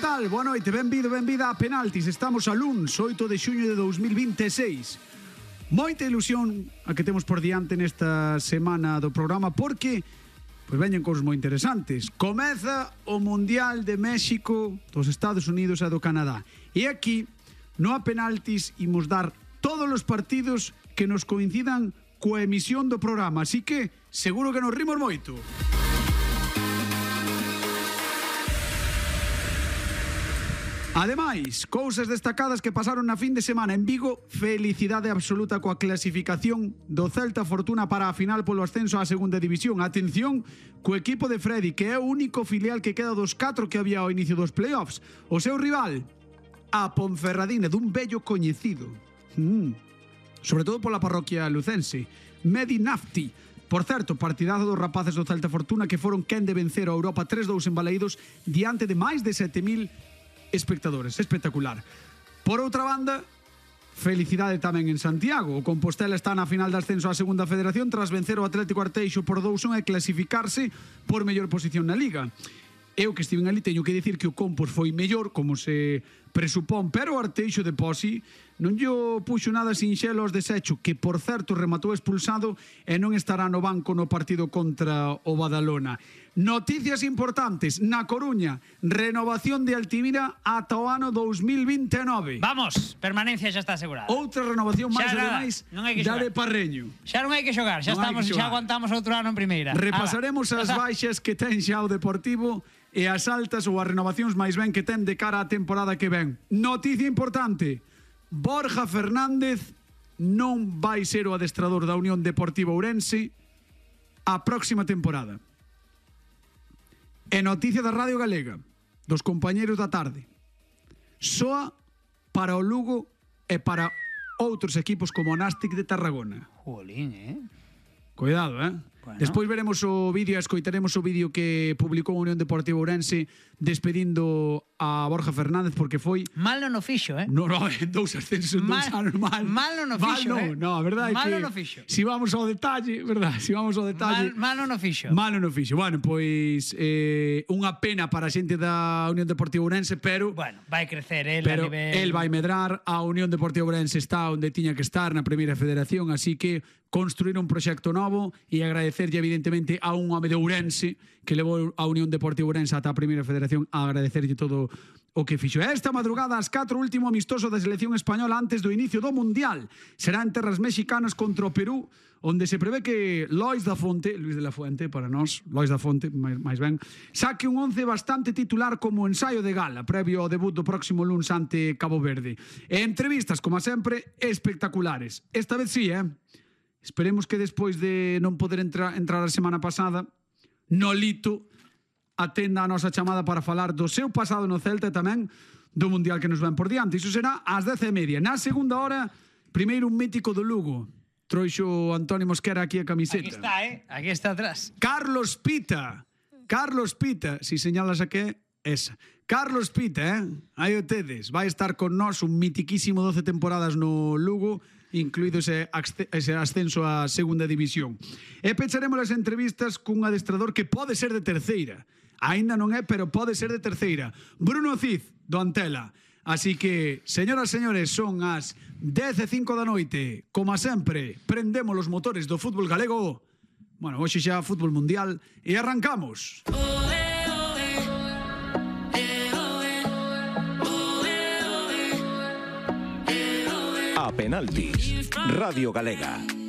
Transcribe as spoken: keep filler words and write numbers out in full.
tal? Boa noite, benvido, benvida a Penaltis. Estamos a luns, oito de xuño de dous mil vinte e seis. Moita ilusión a que temos por diante nesta semana do programa porque pois veñen cousas moi interesantes. Comeza o Mundial de México, dos Estados Unidos e do Canadá. E aquí, no a Penaltis, imos dar todos os partidos que nos coincidan coa emisión do programa. Así que, seguro que nos rimos moito. Ademais, cousas destacadas que pasaron na fin de semana en Vigo. Felicidade absoluta coa clasificación do Celta Fortuna para a final polo ascenso á segunda división. Atención co equipo de Freddy, que é o único filial que queda dos catro que había ao inicio dos playoffs. O seu rival, a Ponferradina, dun vello coñecido. Mm. Sobre todo pola parroquia lucense, Medi Nafti. Por certo, partidazo dos rapaces do Celta Fortuna que foron quen de vencer a Europa tres dous en Balaídos diante de máis de sete mil espectadores. Espectacular. Por outra banda, felicidade tamén en Santiago. O Compostela está na final de ascenso á segunda federación tras vencer o Atlético Arteixo por dous a un e clasificarse por mellor posición na Liga. Eu que estive ali teño que dicir que o Compos foi mellor, como se presupón, pero o Arteixo de Posi non lle puxo nada sinxelo aos desecho, que por certo rematou expulsado e non estará no banco no partido contra o Badalona. Noticias importantes. Na Coruña, renovación de Altimira ata o ano dous mil vinte e nove. Vamos, permanencia xa está asegurada. Outra renovación máis, ademais, da de Parreño. Xa non hai que xogar, xa, estamos, xa aguantamos outro ano en primeira. Repasaremos Ala. as baixas que ten xa o Deportivo e as altas ou as renovacións máis ben que ten de cara á temporada que ven. Noticia importante. Borja Fernández non vai ser o adestrador da Unión Deportiva Ourense a próxima temporada. E noticia da Radio Galega, dos compañeros da tarde. Soa para o Lugo e para outros equipos como o Nástic de Tarragona. Jolín, eh? Cuidado, eh? Bueno. Despois veremos o vídeo e escoitaremos o vídeo que publicou a Unión Deportiva Ourense despedindo a Borja Fernández porque foi... Mal non o fixo, eh? No, no, dous ascensos, dous anos mal. Mal non o fixo, mal, no, eh? No, a verdade é que... Mal non o fixo. Si vamos ao detalle, verdad? Si vamos ao detalle... Mal, mal non o fixo. Mal non o fixo. Bueno, pois eh, unha pena para a xente da Unión Deportiva Ourense, pero... Bueno, vai crecer el pero a nivel... el vai medrar. A Unión Deportiva Ourense está onde tiña que estar na Primeira Federación, así que construir un proxecto novo e agradecerlle evidentemente a un home de Ourense que levou a Unión Deportiva Ourense ata a Primeira Federación, a agradecerlle todo o que fixo. Esta madrugada ás catro, último amistoso da selección española antes do inicio do Mundial. Será en terras mexicanas contra o Perú, onde se prevé que Lois da Fonte, Luis de la Fuente para nós, Lois da Fonte, máis, máis ben, saque un once bastante titular como ensaio de gala, previo ao debut do próximo luns ante Cabo Verde. E entrevistas, como sempre, espectaculares. Esta vez sí, eh? Esperemos que despois de non poder entrar, entrar a semana pasada, Nolito atenda a nosa chamada para falar do seu pasado no Celta e tamén do Mundial que nos ven por diante. Iso será ás dez e media. Na segunda hora, primeiro un mítico do Lugo. Trouxo Antonio Mosquera aquí a camiseta. Aquí está, eh? Aquí está atrás. Carlos Pita. Carlos Pita. Si señalas a que esa. Carlos Pita, eh? Aí o tedes. Vai estar con nós un mitiquísimo doce temporadas no Lugo, incluído ese, ese ascenso á segunda división. E pecharemos as entrevistas cun adestrador que pode ser de terceira. Ainda non é, pero pode ser de terceira. Bruno Cid, do Antela. Así que, señoras e señores, son as dez e cinco da noite. Como sempre, prendemos os motores do fútbol galego. Bueno, hoxe xa fútbol mundial e arrancamos. A Penaltis, Radio Galega.